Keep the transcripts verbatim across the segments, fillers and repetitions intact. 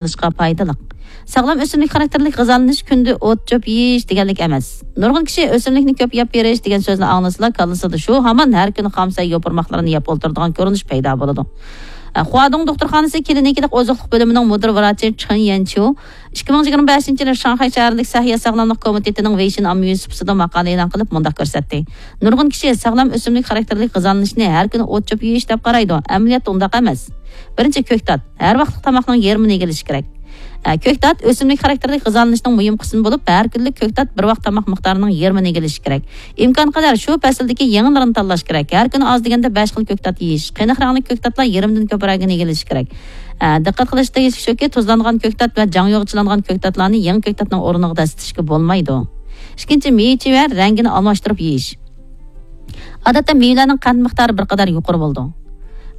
قىلىشقا پايدىلىق. ساغلام ئۆسۈملۈك خاراكتېرلىك غىزالىنىش كۈندە ئوت-چۆپ يېيىش دېگەنلىك ئەمەس. نۇرغۇن كىشى ئۆسۈملۈكنى كۆپ يەپ بېرىش دېگەن سۆزنى ئاڭلىسىلا، كاللىسىدا شۇ ھامان ھەر كۈنى خام سەي يوپۇرماقلىرىنى يەپ ئولتۇرىدىغان كۆرۈنۈش پەيدا بولىدۇ. خۇادۇڭ دوختۇرخانىسى كلىنىكىلىق ئوزۇقلۇق بۆلۈمىنىڭ مۇدىر ۋراچى چېن يەنچيۇ ئىككى مىڭ يىگىرمە بەشىنچى يىلى شاڭخەي شەھەرلىك سەھىيە ساغلاملىق كومىتېتىنىڭ ۋېيشىن ئاممىۋى سۇپىسىدا ماقالە ئېلان قىلىپ، مۇنداق كۆرسەتتى: نۇرغۇن كىشى ساغلام ئۆسۈملۈك خاراكتېرلىك غىزالىنىشنى ھەر كۈنى ئوت-چۆپ يېيىش دەپ قارايدۇ. ئەمەلىيەتتە ئۇنداق ئەمەس. بىرىنچى، كۆكتات. ھەر ۋاقىتلىق تاماقنىڭ يېرىمىنى ئىگىلىشى كېرەك. ئە، كۆكتات ئۆسۈملۈك خاراكتېرلىك غىزالىنىشنىڭ مۇھىم قىسمى بولۇپ، ھەر كۈنلۈك كۆكتات بىر ۋاق تاماق مىقدارىنىڭ يېرىمىنى ئىگىلىشى كېرەك. ئىمكانقەدەر شۇ پەسىلدىكى يېڭىلىرىنى تاللاش كېرەك. ھەر كۈنى ئاز دېگەندە بەش خىل كۆكتات يېيىش. قېنىق رەڭلىك كۆكتاتلار يېرىمدىن كۆپرەكىنى ئىگىلىشى كېرەك. ئە، دىققەت قىلىش تېگىشلىك شۇكى، تۇزلانغان كۆكتات ۋە جاڭيۇغا چىلانغان كۆكتاتلارنى يېڭى كۆكتاتنىڭ ئورنىغا دەسسىتىشكە بولمايدۇ. ئىككىنچى، مېۋە-چېۋە رەڭگىنى ئالماشتۇرۇپ يېيىش. ئادەتتە مېۋىلەرنىڭ قەنت مىقدارى بىر قەدەر يۇقىرى بولىدۇ.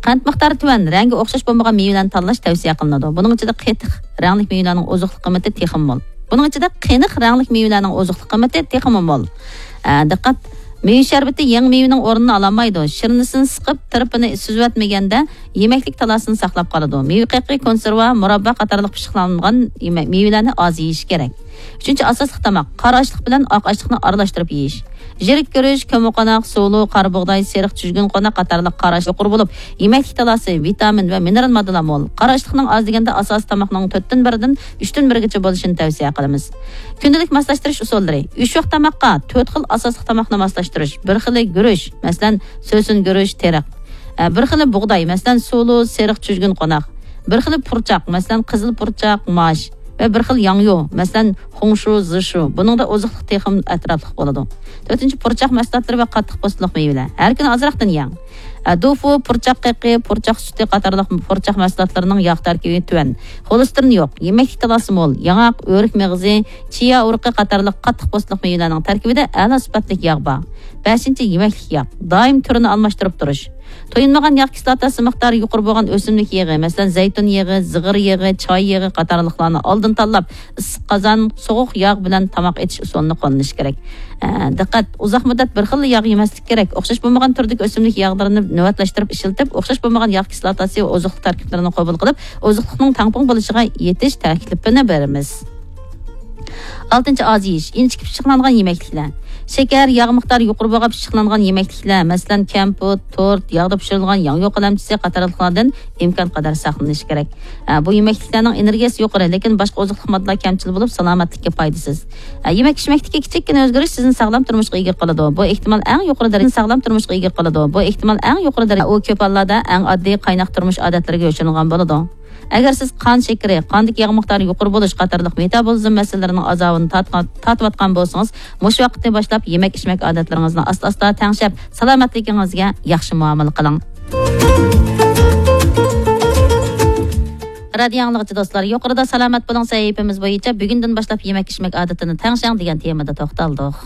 قەنت مىقدارى تۆۋەن، رەڭگى ئوخشاش بولمىغان مېۋىلەرنى تاللاش تەۋسىيە قىلىنىدۇ. بۇنىڭ ئىچىدە قېتىق رەڭلىك مېۋىلەرنىڭ ئوزۇقلۇق قىممىتى تېخىمۇ مول. بۇنىڭ ئىچىدە قېنىق رەڭلىك مېۋىلەرنىڭ ئوزۇقلۇق قىممىتى تېخىمۇ مول. ئە، دىققەت! مېۋە شەربىتى يېڭى مېۋىنىڭ ئورنىنى ئالالمايدۇ. شىرنىسىنى سىقىپ، تىرپىنى سۈزۈۋەتمىگەندە، يېمەكلىك تالاسىنى ساقلاپ قالىدۇ. مېۋە قېقى، كونسېرۋا، مۇراببا قاتارلىق پىششىقلانغان يېمە-، مېۋىلەرنى ئاز يېيىش كېرەك. ئۈچىنچى، ئاساسلىق تاماق. قارا ئاشلىق بىلەن ئاق ئاشلىقنى ئارىلاشتۇرۇپ يېيىش. يىرىك گۈرۈچ، كۆممىقوناق، سۇلۇ، قارا بۇغداي، سېرىق چۈجگۈن قوناق قاتارلىق قارا ئاشلىق يۇقىرى بولۇپ، يېمەكلىك تالاسى، ۋىتامىن ۋە مىنېرال ماددىلار مول. قارا ئاشلىقنىڭ ئاز دېگەندە ئاساسىي تاماقنىڭ تۆتتىن بىرىدىن ئۈچتىن بىرىگىچە بولۇشىنى تەۋسىيە قىلىمىز. كۈندىلىك ماسلاشتۇرۇش ئۇسۇللىرى. ئۈچ ۋاق تاماققا تۆت خىل ئاساسلىق تاماقنى ماسلاشتۇرۇش. بىر خىلى گۈرۈچ، مەسىلەن، سۆسۈن گۈرۈچ، تېرىق. ئە، بىر خىلى بۇغداي، مەسىلەن، سۇلۇ، سېرىق چۈجگۈن قوناق. بىر خىلى پۇرچاق، مەسىلەن، قىزىل پۇرچاق، ماش. ۋە بىر خىل ياڭيۇ، مەسىلەن، خۇڭشۇ، زىشۇ. بۇنىڭدا ئوزۇقلۇق تېخىمۇ ئەتراپلىق بولىدۇ. تۆتىنچى، پۇرچاق مەھسۇلاتلىرى ۋە قاتتىق پوستلۇق مېۋىلەر. ھەر كۈنى ئازراقتىن يەڭ. ئە، دوفۇ، پۇرچاق قېقى، پۇرچاق سۈتى قاتارلىق پۇرچاق مەھسۇلاتلىرىنىڭ ياغ تەركىبى تۆۋەن. خولېستېرىن يوق، يېمەكلىك تالاسى مول، ياڭاق، ئۆرۈك مېغىزى، چىيا ئۇرۇقى قاتارلىق قاتتىق پوستلۇق مېۋىلەرنىڭ تەركىبىدە ئەلا سۈپەتلىك ياغ بار. بەشىنچى، يېمەكلىك ياغ. دائىم تۈرىنى ئالماشتۇرۇپ تۇرۇش. تويۇنمىغان ياغ كىسلاتاسى مىقدارى يۇقىرى بولغان ئۆسۈملۈك يېغى، مەسىلەن، زەيتۇن يېغى، زىغىر يېغى، چاي يېغى قاتارلىقلارنى ئالدىن تاللاپ، ئىسسىق قازان، سوغۇق ياغ بىلەن تاماق ئېتىش ئۇسۇلىنى قوللىنىش كېرەك. ئە، دىققەت! ئۇزاق مۇددەت بىر خىللا ياغ يېمەسلىك كېرەك. ئوخشاش بولمىغان تۈردىكى ئۆسۈملۈك ياغلىرىنى نۆۋەتلەشتۈرۈپ ئىشلىتىپ، ئوخشاش بولمىغان ياغ كىسلاتاسى ۋە ئوزۇقلۇق تەركىبلىرىنى قوبۇل قىلىپ، ئوزۇقلۇقنىڭ تەڭپۇڭ بولۇشىغا يېتىش تەكلىپىنى بېرىمىز. ئالتىنچى، ئاز يېيىش. ئىنچىكە پىششىقلانغان يېمەكلىكلەر. شېكەر، ياغ مىقدارى يۇقىرى بولغان پىششىقلانغان يېمەكلىكلەر، مەسىلەن، كەمپۈت، تورت، ياغدا پىشۇرۇلغان ياڭيۇ قەلەمچىسى قاتارلىقلاردىن ئىمكانقەدەر ساقلىنىش كېرەك. ئە، بۇ يېمەكلىكلەرنىڭ ئېنېرگىيەسى يۇقىرى، لېكىن باشقا ئوزۇقلۇق ماددىلار كەمچىل بولۇپ، سالامەتلىككە پايدىسىز. ئە، يېمەك-ئىچمەكتىكى كىچىككىنە ئۆزگىرىش سىزنى ساغلام تۇرمۇشقا ئىگە قىلىدۇ. بۇ ئېھتىمال ئەڭ يۇقىرى دەرىجە، ساغلام تۇرمۇشقا ئىگە قىلىدۇ. بۇ ئېھتىمال ئەڭ يۇقىرى دەرىجە. ئۇ كۆپ ھاللاردا ئەڭ ئاددىي قايناق تۇرمۇش ئادەتلىرىگە يوشۇرۇنغان بولىدۇ. ئەگەر سىز قان شېكىرى، قاندىكى ياغ مىقدارى يۇقىرى بولۇش قاتارلىق مېتابولىزم مەسىلىلىرىنىڭ ئازابىنى تارتقان، تارتىۋاتقان بولسىڭىز، مۇشۇ ۋاقىتتىن باشلاپ يېمەك-ئىچمەك ئادەتلىرىڭىزنى ئاستا-ئاستا تەڭشەپ، سالامەتلىكىڭىزگە ياخشى مۇئامىلە قىلىڭ. رادىيو ئاڭلىغۇچى دوستلار، يۇقىرىدا سالامەت بولۇڭ سەھىپىمىز بويىچە بۈگۈندىن باشلاپ يېمەك-ئىچمەك ئادىتىنى تەڭشەڭ دېگەن تېمىدا توختالدۇق.